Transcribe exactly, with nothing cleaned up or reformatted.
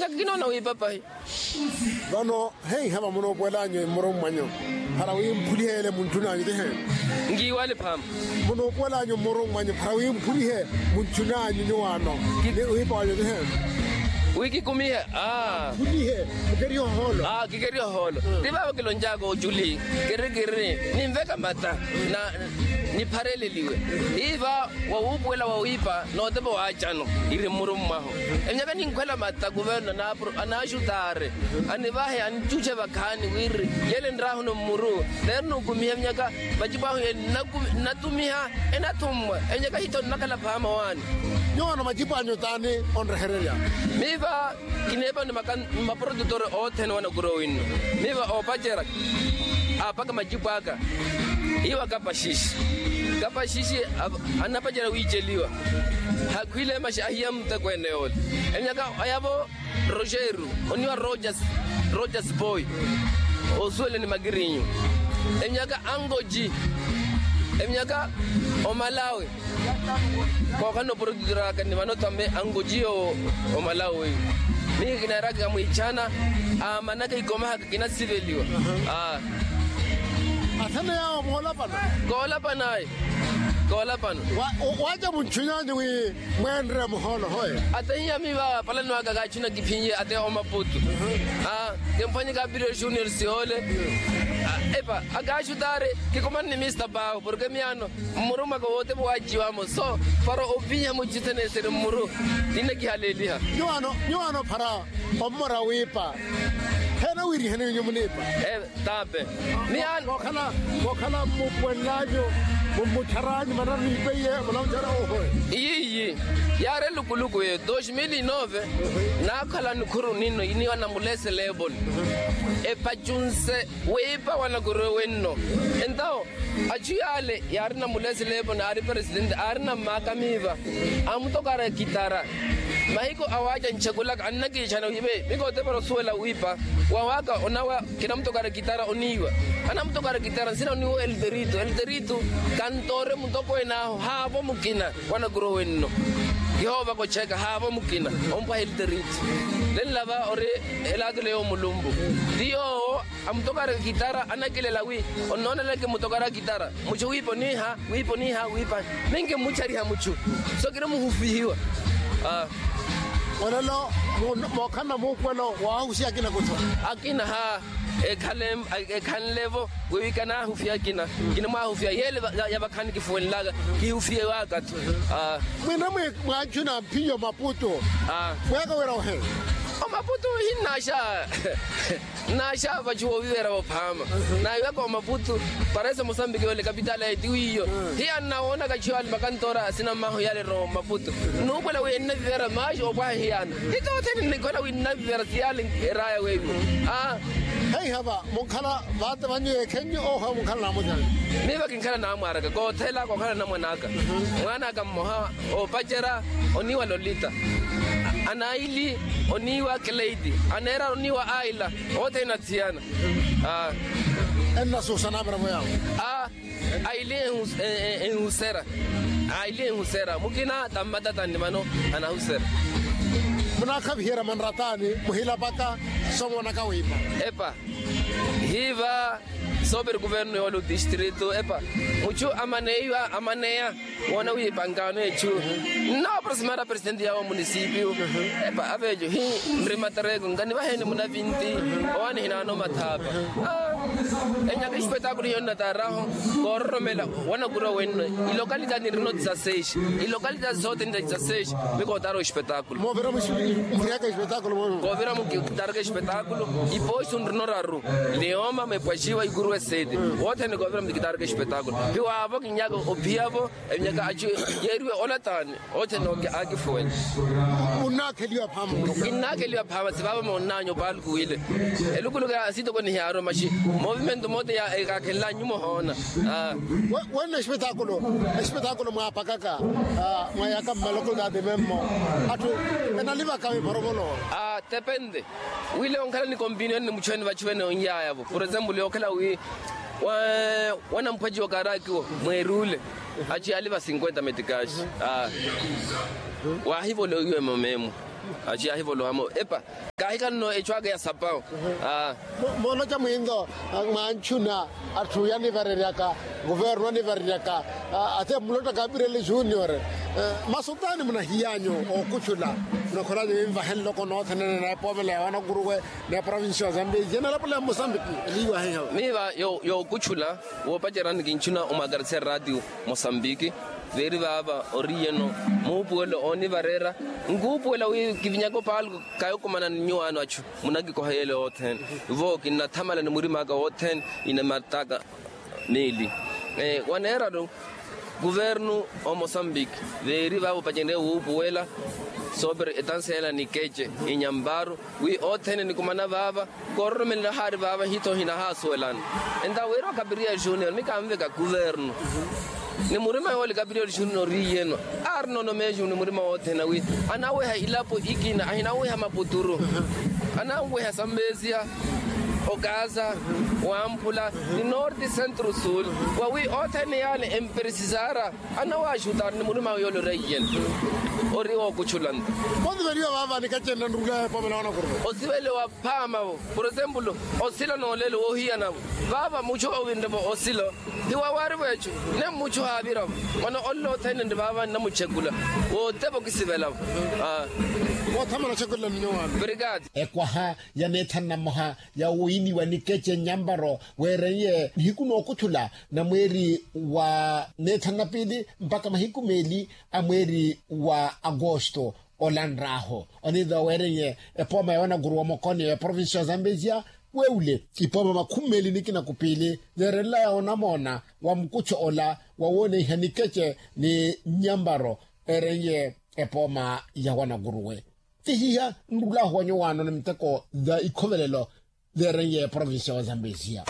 Kinoona wiipa pahi. Vano heiha vamunoopuwelanyu mmurummwanyu para wi mphuliheele muntthun'anyu tiheeni? Nkiiwale phaama. Munoopuwelanyu mmurummwanyu para wi mphulihe muntthun'anyu nyuwaano ni wiipa wanyu tiheeni? Wi kikumihe. Aa. Mphulihe. Mukerihe ohoolo. Aa kikerihe ohoolo. Ti vaavo kiloncaaka oculi kirikiri ninveka mata na niphareleliwe. Iva wawuupuwela wawiipa nootepa waacano iri mmurummwahu. Emyaka ninkhwela mata kuverno anaaxutaari anivahe anicuce vakhaani wiri yele nraahuno mmuru neeri nukumiha emyaka macipo ahu yele nnatumiha enathummwa emyaka hitho nnakhala phaama waani. Nyuwano macipo anyu taani onrehererya? Miiva kineepa ni maprodutor othene wanakurowi nno. Miiva oopacera aapaka macipo aka iwa kapaxishi kapaxishi anapacela wiiceliwa. Hakhwile maxa ahiya muteko ene yoole emyaka ayavo rogeru oniwa rogers boy osuwele ni makirinyu emyaka angoji emyaka omalawi kookhala noprodutiraka ni vano tame angoji yo omalawi oyu. Mihi kinaaraka kamwiichana aamanaka ikomahaka kinasiveliwa. Athene yaawo moolapana koolapana ayi koolapana. Waaca muntthunyanyu wi mweenre muhoolo hoye. Atehiya miiva palani waka kaachuna kiphinye ate omaputu kimphwanyeka apiryo junior sihoole. Epa akaaxutaari kikumani ni mista paahu porke miyaano mmurumwaka wootepa waaciwamo so para ovinya mucithenese ni mmuru. Ninakihaleeliha nyuwaano phara ommora wiipa. Heena wiiriheni winyu muniipa? Tape miyaano. Kookhala mmupuwenlanyu mummuttharanyu manaraniipeiye munamuttharani ohoye. Iyiiyi yaari elukuluku eyo dos mil e nove naakhala nikhuru ninno iniwa namuleseleeponi epacunse wiipa wanakurowe nno. Entawo achu yaale yaari namuleseleeponi aari presidente aari nammaaka miiva amutokara ekitara. Mahiku awaaca nchekulaka annakiichana wiipe mikotepera osuwela wiipa wawaka onawa kinamutokara ekitara oniiwa. Anamutokara ekitara nsina oniiwa elderito elderito kantoore mutokweene ahu haavo mukina wanakurowe nno. Kihoovaka ocheka haavo mukina ompwaha elderito lenlava ori elaakile yoowo mulumpu ti yoowo amutokaraka ekitara anakilela wi onnooneleke mutokaraka ekitara muchu wiipa oniiha wiipa oniiha wiipa ninkimuchariha muchu so kirimuhufihiwa. Olelo mookhalana muupuwelo waahusiha akina kuthwa akina ha ekhanlevo wiiwi kanaahufiha akina kinimwaahufiha yeele ya vakhaani kifuwenlaka kihufihiwaka-tho. Mwina mwaachuna mphiyo maputu mwaaka wira ohe omaputu hinnaaxa nnaaxa vachu wooviverya vophaama naahiwaka omaputu parese mosambiki yoole kapitaali ayi ti wiiyo hiya nnawoonaka chiyo ali makantoora asina mmahu yale rowa omaputu nnuukwela wi ennaviverya maaxi opwaha hiyana hitothene nnikhwela wi nnaviverya siyale eraaya weiwo. Heiha va munkhala vaate vanyu ekhenyu oho munkhala naamwaaraka miiva kinkhala naamwaaraka koothela kookhala namwan'aka mwaan'aka mmoha oopacera oniiwa lolita anaili oniiwa kleiti aneera oniiwa aila othene nathiyana. Ennasuusa naamira-vo yaawo aili enhusera aili enhusera mukina tammatatani vano anahusera. Munaakhaviherya manrataani muhilapaka somonaka wiipa epa hiiva sooperi kuvernu yoole otistrito epa muchu amaneiwa amaneya woona wiipa nkaano echu nnawaprosimara presidenti yaawo munisipio epa aveejo hi nri matareko nkanivaheni munavinti owaani hinaano mathaapa enyaka espetakulo hiyo nnataaraho koororomela wanakurwa wenno ilokalita nirino tisaseis ilokalita sothene ta tisaseis mikootaara espetakulo moovira mukitaraka espetakulo ipooxi nrino raru lioma mepwaxiwa ikuru eseti wothene koovira mukitaraka espetakulo hiwaavo kinyaka ophiyavo emyaka achu yeeriwe olataani othene akifuwela munnaakheliwa phaama kinnaakheliwa phaama sivaavo moonnaanyu opaaluku wile elukuluku ya sitokoni hiyaaromaxi movimento mote ya ekaakhenlanyu mohoona. Wenno espetakulo espetakulo mwaapakaka mwa yaka mmaloko taati memmo atthu enalivaka miphoropolo. Tepente wile onkhala ni kompinioni ni muchu ene vachu vene onyaayavo por example yookhala wi wanamphwaci wa karakiwo mweerule achu yaali va cinquenta metikaxi waahivola owiwemo meemwa Aci ahivoloha-mo epa, kaahikhala-no ecu aka ya sapawu. Moonoca mwinto, mwanchuna atthu yanivareryaka, kuvernu anivareryaka, ate mulotta kapireli junior. Masu taani munahiyanyu ookuchula? Munakholanyu vinvahe nloko noothenene na epoomela ya wanakuruwe, na eprovincia ya zambezi enalapuleya mmosambiki eliiwahiha. Miiva yookuchula, woopacerani kinchuna omwakarisiya ratio mosambiki, veeri vaava oriyeno muupuwelo oonivareera. Nkuupuwela wi kivinyaka opaalko kayokomana ni nyuwaano achu, munakikoha yeele othene. Ivo kinnathamala ni murima aka wothene, inamataka niili waneeraru. Kuvernu omosambiki, veeri vaava opacenrye wuupuwela soopere etanseela ni kece, inyamparu, wi othene enikumana vaava, koororomelela haari vaava hito hinahaasuwelana. Enta wira okapiriya junior mi kanveka kuvernu, ni murima yoole kapiriya oli junior oriyeno, aarina onomeju ni murima wothene wi anaweha ilapo ikina ahinaweha maputuru, ananweha sambesia, okaza, wamphula, ni norte centro sul, wawi othene yaale emperesisara. Anawaaxutari ni murima yoole ori aiyeni, ori wookuchula nto. Mosiveliwa vaava nikacenna nrula epoomela wanakuruwe. Osiveliwa phaama-vo, por esempulu, osila noolelo woohiyana-vo. Vaava muchu oowinre-vo osilo, hiwawaari-vo echu, ne muchu haavira-vo. Mano olle othene nri vaava nnamuchekula, wootepa okisivela-vo. Woothamala ochekulana nyuwaano. Brigade. Ekwaha ya neethanu na mmoha ya wiiniwa nikeche nyamparo, weereiye nihiku nookuthula na mweeri wa neethanu na piili mpakha mahiku meeli a mweeri wa akosto. Olanr'ahu oniithiwa weereiye epooma ya wanakuruwa mokoni ya provincia ya zambezia, weewule ipooma makhumi meeli nikina kupiili yeerelelaya onamoona wa mukuttho ola wa wooneiha nikeche ni nyamparo. Eereiye epooma ya wanakuruwe. Tihiha nrulahu wa nyuwaano ni miteko tha ikhovelelo theereiye provincia wa zambezia.